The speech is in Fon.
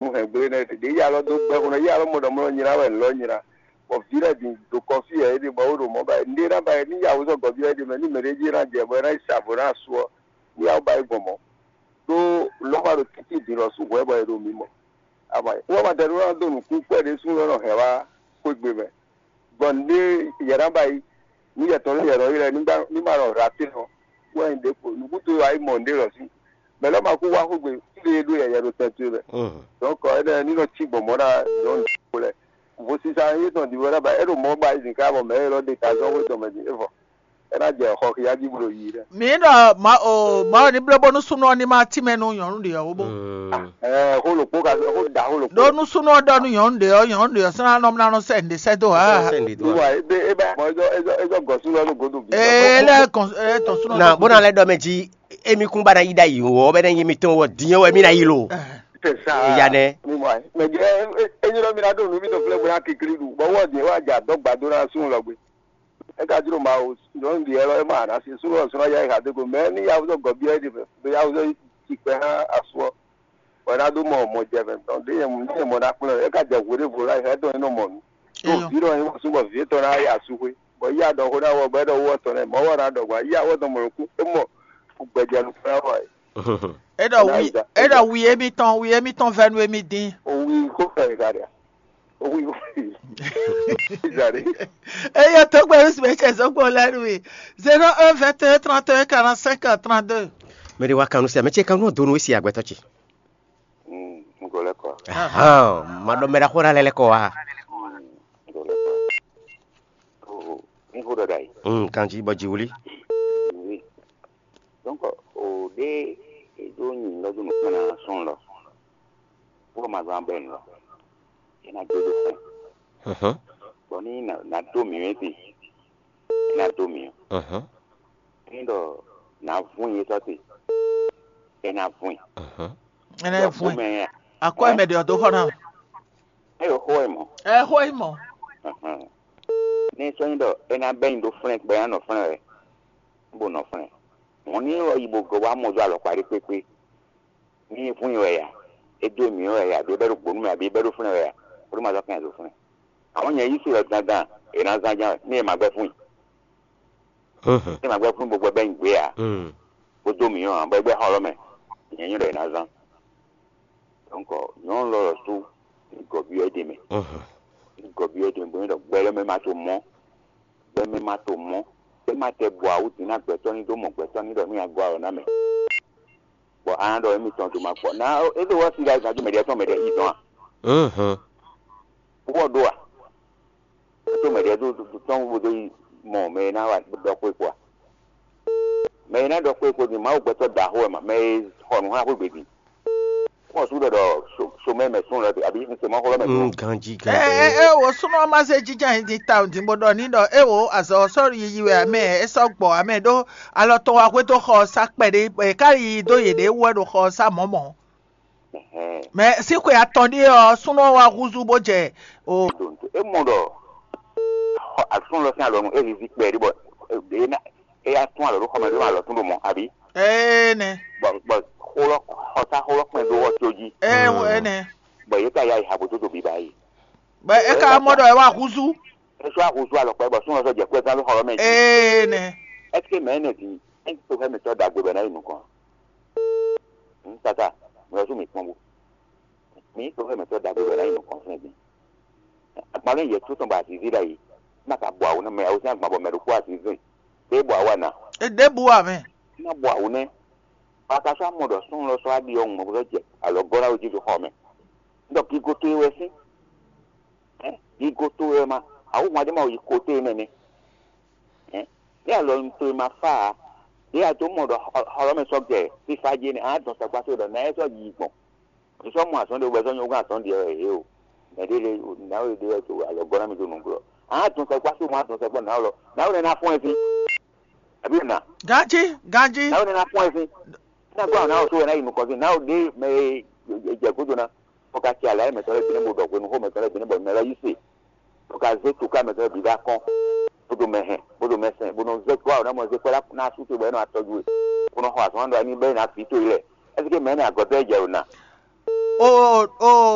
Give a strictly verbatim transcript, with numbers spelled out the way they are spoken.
nu hɛn gblé nɛ́ ɖě yí alɔ dó gbɛ́ xó ná yí alɔ mɔ ɖɔ mɔ nylá wɛ lɔ̌ nylá. Bɔ vǐ lɛ́ɛ bǐ ɖo kɔfí yɛ é ɖe bɔ é ɖo mɔ̌ ba é ɖé ná ba é ní yǎwǔzɔ gɔ̌ ví ɔ́ é ɖe mɛ ní mɛɖé jí ná jɛ bɔ é ná yi sa vo ná asu ɔ́ ní yǎwǔ ba é gbɔn mɔ̌. Ɖó lɔ̌ ma ɖo títí din lɔ sú hwɛ̌ bɔ é ɖo mǐ mɔ. Ama wá ma dɛ ɖó ná dó nǔkún kpɛ́ ɖé sú lɔ́ nɔ hɛn wá xwé gbe mɛ. Gbɔn nǔɖé yɛ ná ba yi nú yɛ tɔn lɛ́ɛ yɛ nɔ ylɔ́ ɛ ní ma nɔ hla tɛ́nɔ wɛ nyí ɖěvo nǔkúnto e wa yi mɔ nǔɖé lɔ sín mɛ lɛ́ɛ ma kú wá xógbe fí e ɖó yɛyɛ ɖo tɛn towe mɛ. Donc ɛnɛ ní nɔ cí gbɔn mɔ̌ ná nyɔ̌nu ɖokpó lɛ́ɛ vo sisa yétɔn ɖi wɛ ná ba é ɖo mɔ̌ ba yi zǐn ká bɔ mɛ élɔ́ ɖe ta zɔ́n xwé tɔn mɛ din é vɔ é ná jɛ xɔ xia jí bó ɖo yiyi lɛ́ɛ. Mǐ ɖɔ Mawu ní bló bónú súnnu ɔ́ ní ma tínmɛ nú nyɔ̌nu ɖě ɔ́ ó bó. Ɛɛ xó lǒkpó ka xó da xó lǒkpó. Ɖó nú súnnu ɔ́ ɖɔ nú nyɔ̌nu ɖě ɔ́, nyɔ̌nu ɖě ɔ́ sɔ́ ná nɔ ná nɔ sɛ nǔɖé sɛ́ dó ǎ. Wíwá ebe ebe mɔ ezɔ ezɔ ezɔ gɔsú lɔ ní godo bí. Ee lɛ kɔn ɛ tɔn súnɔ. Na bó na lɛ ɖɔ mɛ jí emi kún ba na yi ɖa yi wɔ bɛ ne yi mi tɔn wɔ diɲɛ wɛ mi na yi lo. C'est ça. Eya nɛ. Mi mɔ ɛ mɛ jɛ enyi lɔ mi na ɖo nu mi tɔ flɛ bó na kikli ɖu bɔ wɔ diɲɛ wɔ adza dɔ gbado na sún lɔ gbe. E ka jló Mawu nyɔnu ɖi ɛ lɔ e ma na si sún lɔ sún ya yi ha dé go mɛ ni ya wuzɔ gɔbi ɛ ɖi mɛ be ya wuzɔ yi kpɛ hã asu ɔ. Wɛ ná ɖó mɔ mɔ jɛ mɛ tɔn ɖé nyɛ mɔ ná kplɔ́n ɛ ka jɛ hwe ɖěvo lá hɛ tɔn nɔ mɔ nǔ. Tó vǐ ɖɔ nyɛ mɔ súnbɔ vǐ tɔn ná yi asúxwé bɔ yí aɖɔ xó ná wɔ bɔ é ɖɔ wú ɔtɔn nɛ mɔ̌ wɔ ná ɖɔ gbɔn yí awɔ tɔn mɔ nǔkún é mɔ gbɛjɛ nukún ná wɔ ɛ. É ɖɔ wi é ɖɔ wi émítɔn wi émítɔn vɛ́ nú émí dín. Owi kó fɛ ka ɖia. Owi kó fɛ. Izali. Eye tó gbé wísí mɛ cɛ zɔgbó lɛnu mi. Zéro un vingt et un trente et un quarante cinq trente deux. Mɛ ɖe wa kanu se mɛ ce kanu donu esi agbɛtɔ ce. Ŋgɔlɛ kɔ. Ahan, ma ɖɔ mɛ ɖaxó ɖa lɛ lɛ kɔ wa. Ŋgɔlɛ kɔ. O ní xó ɖɔ ɖa yi. Mm, kanji bɔ ji wuli. Oui. Donc o ɖe e ɖo nyi lɔ do nukpɔn na sɔn lɔ. Wo ma zan bɛ lɔ. E na do do fɛn. Mhm. Bɔ ni na na do mi wɛ ti. E na do mi. Mhm. Ni ɖɔ na vun yi sɔ ti. E na vun. Mhm. Ene vun. Akɔ mɛ ɖe ɔdó xɔ na. Eyo xó e mɔ. Ɛ xó yi mɔ. Mhm. Ni sɔ nyi ɖɔ e na bɛ nyi ɖo flɛn gbɛ ya nɔ flɛn wɛ. Bo nɔ flɛn. Mɔ ni wɔ yi bo gɔ wa mɔ do alɔkpa ɖe kpekpe. Ní hún wɛ ya, é dó mǐ wɛ ya, abǐ é bɛ́ ɖo gbǒ nú mì, abǐ é bɛ́ ɖo fúnɛ́ wɛ ya, bó ɖó ma zɔ́ kɛn zo fúnɛ́. Àwọn nyɛ yí se ɔ́ dandan, è nǎ zán ján wɛ, ní è ma gbɛ́ fún i. Ní è ma gbɛ́ fún i bó gbɛ bɛ́ nyi gbě ǎ, bó dó mǐ ɔ́ ǎ, bɔ é gbɛ́ xɔ lɔ́ mɛ, nyɛ nyí ɖɔ è nǎ zán. Dɔ̌nkɔ nyɔ̌nu lɔ lɔ sú ní gɔ̌byɔ́ é ɖe mɛ, ní gɔ̌byɔ́ é ɖe mɛ, bó nyí ɖɔ gbɛ lɔ́ mɛ ma to mɔ̌, gbɛ mɛ ma to mɔ̌, é ma tɛ bɔ awǔ din ná gbɛtɔ́ ní dó mɔ gbɛtɔ́ ní ɖɔ ní a gɔ́ alɔ ná mɛ. Bɔ a nǎ ɖɔ émítɔn dó ma kpɔ. Ná é ɖo wá sí ɖa gǎn jí mɛɖě tɔn mɛɖě yi dɔn a? Wɔ ɖó a? É tó mɛɖě dó tɔn bó dó yi mɔ mɛ e ná wa ɖɔ xwé kpó a? Mɛ e ná ɖɔ xwé kpó din Mawu gbɛtɔ́ ɖaxó wɛ ma, mɛ e xɔ nǔ xá xwé gbe din. Xɔ sú ɖɔ ɖɔ somɛ mɛ sún lɔ abí un se mɔ xó lɔ mɛ sún. Ganji ɛ ganji. Ɛ ɛ wo súnú ɔmá zé jíjá yín dín tawun dín bó ɖɔ ní ɖɔ é wo azɔ̌ sɔ́ yiyi wɛ amɛ é sɔ́ gbɔ amɛ ɖó alɔ tɔn wá xwedó xɔ ɔ́ sá kpɛɖé bɔ è ká yiyi dó yěɖée wú wɛ ɖo xɔ ɔ́ sá mɔ̌ mɔ̌. Mɛ sín xwe atɔn ɖíe ɔ́ súnú ɔ́ wá húzú bó jɛ o. É mɔ ɖɔ asún lɔ sín alɔnu é zizi kpɛɖé bɔ ɖě ná é yá tún alɔ ɖó xɔmɛ ɖó alɔ tún ɖo mɔ abí. Ee nɛ. Bɔ bɔ xó lɔ xɔsá xó lɔ kpɛn dó wɔ tó jí. Ee wɔ é nɛ. Bɔ yě ka ya yi ha bó tó do biba yi. Bɔ é ka mɔ ɖɔ é wá húzú. É sɔ́ ahúzú alɔ kpɛ bɔ súnmọ́ sɔ́ jɛ kúlẹ̀ tán ló xɔ lɔ mɛ jí. Ee nɛ. Ɛsike mɛ énɛ́ din é ń to xɛ́ mǐtɔn ɖagbe bɔ é ná yi nukɔn? Ŋ tata, mǐ lɔ sú mǐ kpɔ́n bó. Mǐ to xɛ́ mǐtɔn ɖagbe bɔ é ná yi nukɔn fún din. Agban lɛ́ yɛ tó tɔn bɔ azǐzí ɖ'ayǐ. Má ka bɔ awǔ nú mɛ awǔ sín agban bɔ mɛ ɖokpó azǐzí. Ɖé bɔ awú ana. Ɖěbǔ wà mɛ. Má bɔ awǔ nɛ́. Bɔ a ka sɔ́ amɔ ɖɔ súnnu lɔ sɔ́ aɖi ɔ́ ŋmɔ bó sɔ́ jɛ alɔ gɔ́ ná wé jí xɔ mɛ. Ɖɔ gigo towe wɛ sín. Gigo towe wɛ ma. Awǔ hwan ɖé ma yi kote nɛnɛ. Ní alɔ towe ma fá ǎ. Ɖé a dó mɔ ɖɔ xɔ lɔ mɛ sɔ́ gɛ fífá jé nɛ́ a dɔn sɛkpá towe ɖɔ nǎ é sɔ́ yi gbɔn. È sɔ́ mɔ azɔn ɖé wú bɔ è sɔ́ nyɔ́ gɔ́n azɔn ɖe wɛ yě o. Mɛ ɖé lé nǎwe ɖé wɛ dó alɔ gɔ́ ná mi dó nǔgbó. Ǎ dɔn sɛkpá só mɔ a dɔn sɛkpá nǎwe lɔ. Nǎwe nɛ́ ná fɔ́n ɛ fí. Àbí nǎ. Ganjí, ganjí. Nǎwe nɛ́ ná fɔ́n ɛ fí. Ná gbọ́ àwọn náà só wɛ ná yi nukɔn fí. Nǎwe ɖé mɛ e jɛ gúdo ná. Bó ka tse alǎ mɛtɔn lɛ́ɛ bǐ nɛ́ bó ɖɔ hwenu xó mɛtɔn lɛ́ɛ bǐ nɛ́ bɔ mɛ lɔ yí se. Bó ka zé toká mɛtɔn lɛ́ɛ bǐ dó akɔ́n. Bó ɖo mɛ hɛn, bó ɖo mɛ sɛn, bó nɔ zé gbɔ àwọn náà mɔ zé kpɛ́ ná sú te bɔ é nɔ atɔjú we. Bó nɔ xɔ azɔn ɖɔ ní bɛ́ ná vǐ towe lɛ. Ɛsike mɛ énɛ́ agɔ̌tɔ́ e jɛ ɖo na? ó ó